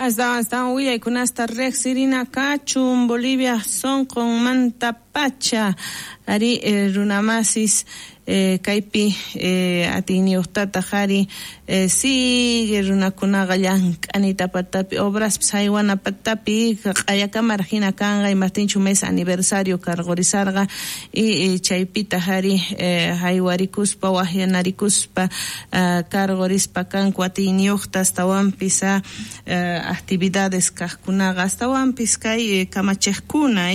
Astawan astawan willaykunasta riqsirina kachun Bolivia sunqunmantapacha ari runamasis kaypi atiyniyuqtataq ari sigue runakunaqa llank'anita patapi obraspis haywana patapi q'ayakamaraq hina kanqa imaptinchu mes aniversario karqurisarqa y chaypitaq ari haywarikuspa waqyanarikuspa karqurispa kanku atiyniyuqta astawanpis actividades kaqkunaqa astawanpis kay kamachiqkuna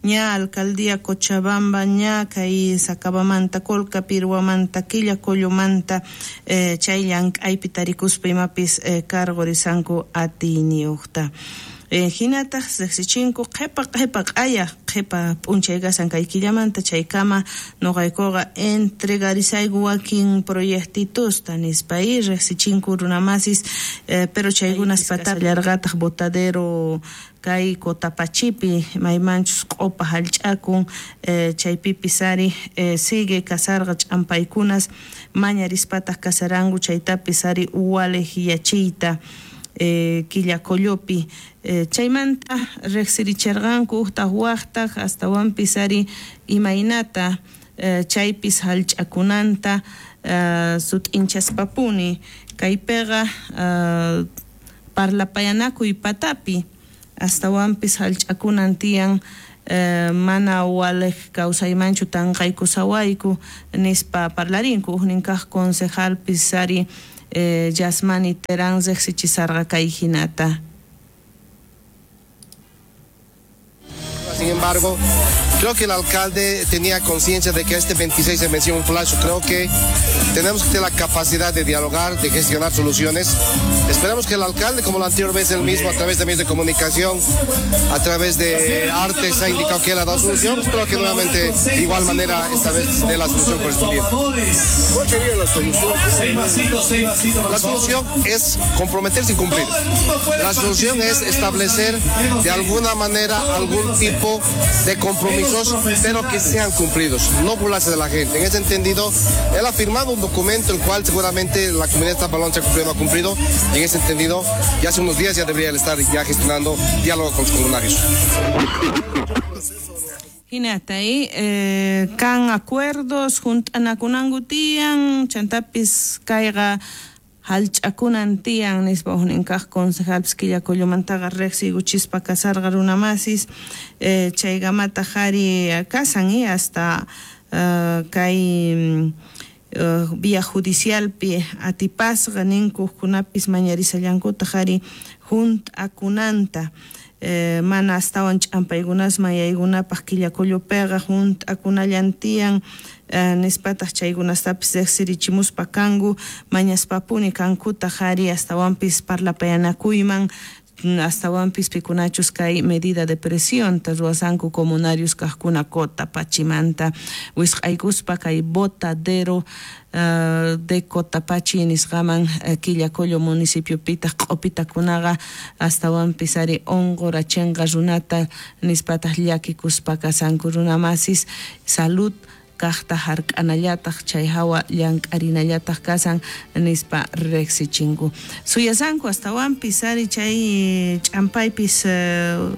ña alcaldía Cochabamba ña kay Sacabamanta Colca Pirwamanta Quillacollomanta chay llank'aypi tarikuspa imapis karqurisanku atiyniyuqta. Hinataq riqsichinku qhipa qhipa q'aya qhipa p'unchay kasan kay killamanta chaykama nuqaykuqa entregarisayku wakin proyectitusta nispa riqsichinku runamasis pero chaykunas patapi botadero kay Cotapachipi maymanchus q'upa hallch'akun chaypipis ari sigue kasarqa ch'ampaykunas mañarispataq kasaranku chaytapis ari waliqyachiyta Quillacollopi chaymanta riqsirichirqanku uqtaq waqtaq astawanpis ari imaynata chaypis hallch'akunanta sut'inchaspapuni kaypiqa parlapayanakuy patapi astawanpis hallch'akunan tiyan mana waliq kawsaymanchu tanqaykusawayku nispa parlarinku uqnin kaq concejalpis ari Yasmani Terán riqsichisarqa kay hinata. Sin embargo, creo que el alcalde tenía conciencia de que este 26 se venció un flash. Creo que tenemos que tener la capacidad de dialogar, de gestionar soluciones. Esperamos que el alcalde, como la anterior vez él mismo, a través de medios de comunicación, a través de artes, ha indicado que él ha dado solución. Espero que nuevamente, de igual manera, esta vez dé la solución correspondiente. ¿Cuál sería la solución? La solución es comprometerse y cumplir. La solución es establecer de alguna manera algún tipo de compromisos, pero que sean cumplidos, no burlarse de la gente. En ese entendido, él ha firmado un documento el cual seguramente la comunidad de Tampalón se ha cumplido o no ha cumplido, y en ese entendido, ya hace unos días ya debería estar ya gestionando diálogo con los comunarios. Hinata kan acuerdos junt'anakunanku tiyan, chantapis kayqa hallch'akunan tiyan nispa uqnin kaq concejalpis Quillacollomantaqa riqsiykuchispa kasarqa runamasis chaykamataq ari kasan hasta kay vía judicialpi atipasqa ninku uqkunapis mañarisallankutaq ari junt'akunanta mana astawan ch'ampaykunasman yaykunapaq Quillacollopiqa junt'akunallan tiyan nispataq chaykunastapis riqsirichimuspa kanku mañaspapuni kankutaq ari astawanpis parlapayanakuyman astawanpis pikunachus kay medida de presión ruwasanku comunarios kaqkuna Cotapachimanta wisq'aykuspa kay botadero de Cotapachi nisqaman Quillacollo municipiopitaq q'upitakunaqa astawanpis ari unqurachinqa runata nispataq llakikuspa kasanku runamasis salud kaqta hark'anallataq chay hawa llank'arinallataq kasan nispa riqsichinku suyasanku astawanpis ari chay ch'ampaypis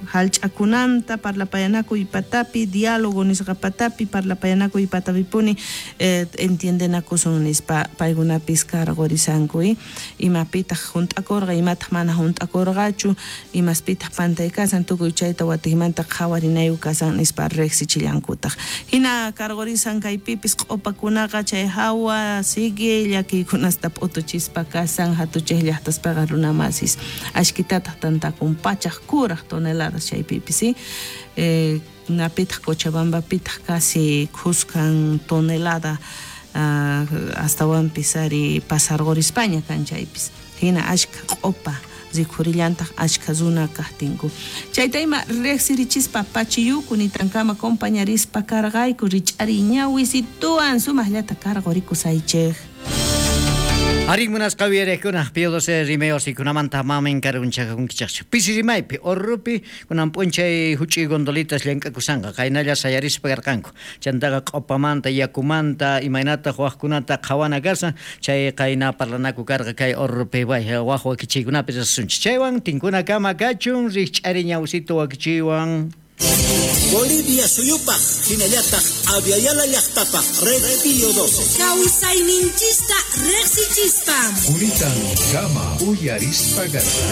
hallch'akunanta parlapayanakuy patapi diálogo nisqa patapi parlapayanakuy patapipuni entiendenakusun nispa paykunapis karqurisanku imapitaq junt'akurqa imataq mana junt'akurqachu imaspitaq pantay kasan tukuy chayta watiqmanta qhawarinayu kasan nispa riqsichillankutaq hina karqurisan kaypipis q'upakunaqa chay hawa sigue llakiykunasta p'utuchispa kasan hatuchiq llaqtaspaqa runamasis ashkitataq tantakun pachaq kuraq toneladas chaypipis napitaq Cochabambapitaq casi khuskan tonelada astawanpis ari pasarqurispaña kan chaypis hina ashka q'upa rikhurillantaq ashka runa kaqtinku chayta ima riqsirichispa pachiyuku nitankama compañarispa karqayku rich'ari ñawisituwan sumaqllata karqurikusaychik. Arí munasqa uyariqkuna Pío XII rimay wasikunamanta mamin karunchakunkichaqchu. Pisi rimaypi Orropi kunan p'unchay huch'uy gondolitas llank'akusanqa qaynalla sayarispa karqanku. Chantaqa q'opamanta yakumanta imaynataq waqkunata qhawana kashan chay qayna parlanaku karqa kay Orropi waq wakichiykunapi risunchik. Chaywan tinkunakama kachun rikch'ari ñawsito wakichiywan. Bolivia suyupaj hinallataq Abya Yala llaqtapaj Red Pío XII. Kawsayninchista riqsichispa. Kunitan kama uyarispa.